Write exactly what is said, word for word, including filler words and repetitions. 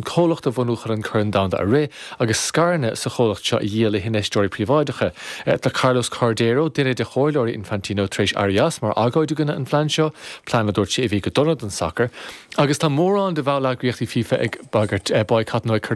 Comhlacht a bhunú chun an Corn Domhanda a rith agus scaireanna sa chomhlacht seo a dhíol le hinfheisteoirí príobháideacha. Tá Carlos Cordeiro duine de chomhairleoirí Infantino tar éis éirí as mar agóid i gcoinne an phlean seo, plean a dúirt sé a bhí go dona don sacar. Agus tá mórán de bhalleagraíochtaí FIFA ag bagairt boycott nó ag cur